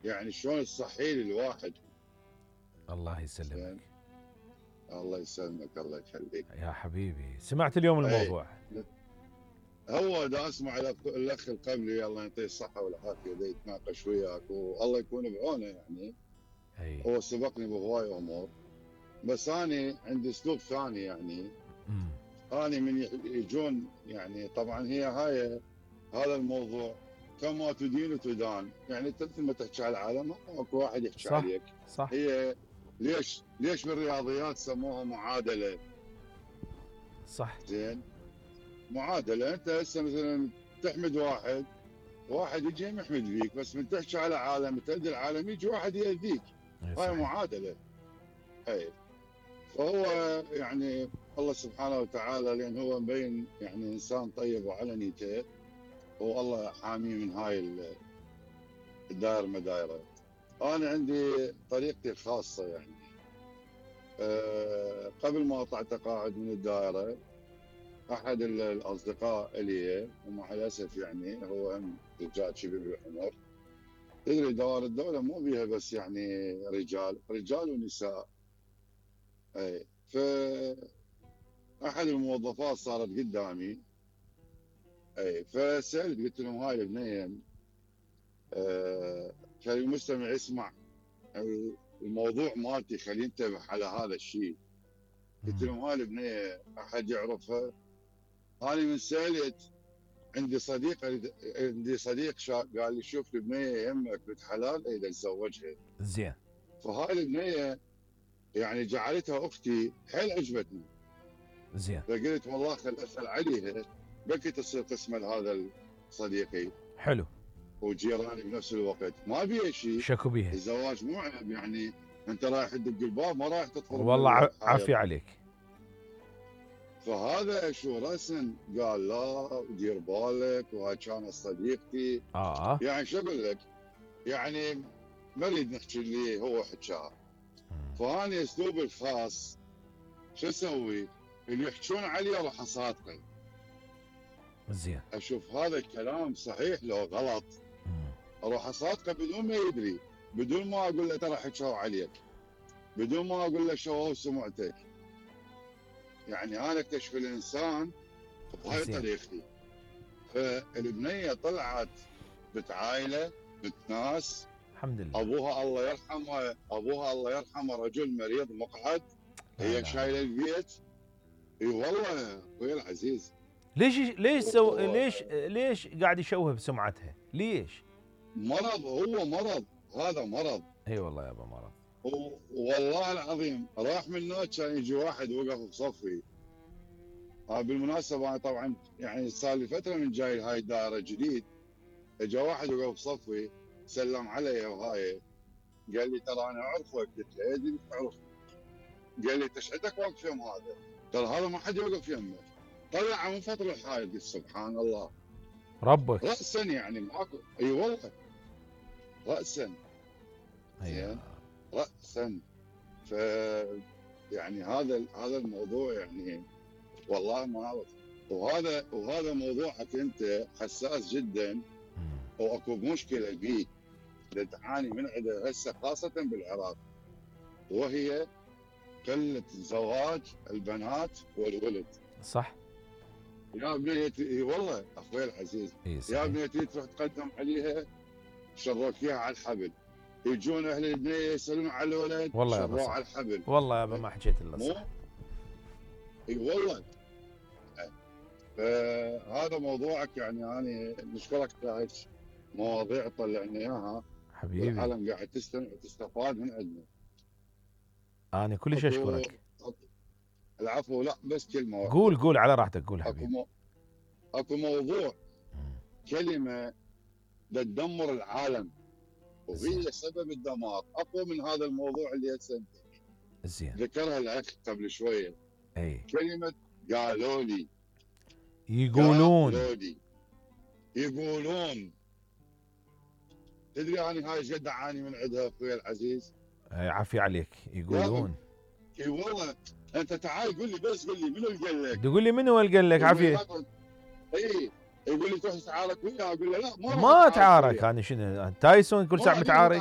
يعني شلون تصحي لي الواحد. الله يسلمك. زين. الله يسلمك، الله يخليك يا حبيبي. سمعت اليوم الموضوع؟ هو دا اسمع الاخ اللي قبلي الله يعطيه الصحه والعافيه دا يتناقش وياك والله يكون بعونه يعني. هو سبقني بهواي امور، بس انا عندي اسلوب ثاني يعني. انا من يجون يعني طبعا هاي هذا الموضوع كما تدين تدان، يعني انت مثل ما تحكي على العالم اكو واحد يحكي صح عليك. صح. هي ليش بالرياضيات سموها معادله؟ صح. زين، معادله. انت هسه مثلا تحمد واحد يجي يحمد فيك، بس من تحكي على عالم تأذي العالم يجي واحد يأذيك. هاي معادله. هاي فهو يعني الله سبحانه وتعالى لان هو مبين يعني انسان طيب وعلى نيته، والله حاميه من هاي الدائره مدايره. انا عندي طريقتي الخاصه يعني. قبل ما اطلع تقاعد من الدائره، احد الاصدقاء لي ومع الاسف يعني هو هم رجال شبه بالعمر. تدري دوائر الدوله مو بيها بس يعني رجال ونساء. اي احد الموظفات صارت قدامي. اي فسالت قلت لهم هاي البنيه كان المستمع يسمع الموضوع مالتي خليه ينتبه على هذا الشيء. قلت لهم هاي البنيه احد يعرفها؟ انا من سالت عندي صديق قال لي شوف البنيه يمك بنت حلال اذا نزوجها. زين. فهاي البنيه يعني جعلتها اختي، حيل عجبتني. زين. فقلت والله خل اسال عليها بلكي تصير قسمه لهذا صديقي. حلو. وجيراني بنفس الوقت، ما بيها شيء. شكو بيها. الزواج مو عيب يعني، انت رايح تدق الباب ما رايح تدخل. والله عافية عليك. فهذا شو رسم قال لا دير بالك، وهاي كانت صديقتي. يعني شو اقول لك، يعني ما اريد نحكي اللي هو حكاها. فاني اسلوبي الخاص شو اسوي؟ اللي يحكون علي راح اصادقه. زين. اشوف هذا الكلام صحيح لو غلط، اروح اصادقه بدون ما يدري، بدون ما اقول له ترى حكوا عليك، بدون ما اقول له شو سمعتك. يعني انا اكتشف الانسان بهاي طريقتي. فالبنيه طلعت بنت عائله، بنت ناس. الحمد لله. ابوها الله يرحمه رجل مريض مقعد، هي شايله البيت. اي والله اخوي العزيز. ليش قاعد يشوه بسمعتها؟ ليش؟ مرض، هو مرض، هذا مرض. اي والله يابا مرض. والله العظيم راح من هناك كان يجي واحد وقف بصفي. بالمناسبه انا طبعا يعني صار لي فتره من جاي هاي الدائره جديد. اجى واحد وقف بصفي سلم علي وهاي، قال لي ترى انا اعرفك. قلت له ايدي تعرف؟ قال لي ايش عندك واقف يم هذا؟ ترى هذا ما حد يوقف يمه. طلع من فضل الحائط. قلت سبحان الله ربك. راسا يعني ماكو. اي والله راسا. زين راسا. ف يعني هذا الموضوع يعني والله ما اعرف. وهذا موضوعك انت حساس جدا، واكو مشكله بيك تعاني من عندها هسه خاصه بالعراق، وهي قله زواج البنات والولد. صح يا بنيتي والله اخوي العزيز. يا بنيتي تروح تقدم عليها شروك اياها على الحبل. يجون اهل البنيه يسالون على الولد شروه على الحبل. والله يابا ما حكيت الا صح. اي والله. فهذا موضوعك يعني انا نشكرك على هيك مواضيع طلعنا اياها حبيبي. والعالم قاعد تستمع وتستفاد من عندنا. انا كلش اشكرك. العفو. لا بس كلمه قول على راحتك. قول حبيبي. اكو موضوع كلمه تدمر العالم وهي سبب الدمار اقوى من هذا الموضوع اللي هسه زين ذكرها الاخ قبل شويه. اي كلمه قالوا لي، يقولون. تدري انا هاي ايش قد اعاني من عندها اخوي العزيز؟ عافية عليك. يقولون. اي والله. انت تعال قول لي، بس قول لي منو اللي قال لك؟ تقول لي منو اللي قال لك؟ عافية. اي يقول لي تروح تتعارك وياه، اقول له لا ما اتعارك. انا شنو تايسون كل ساعه متعارك؟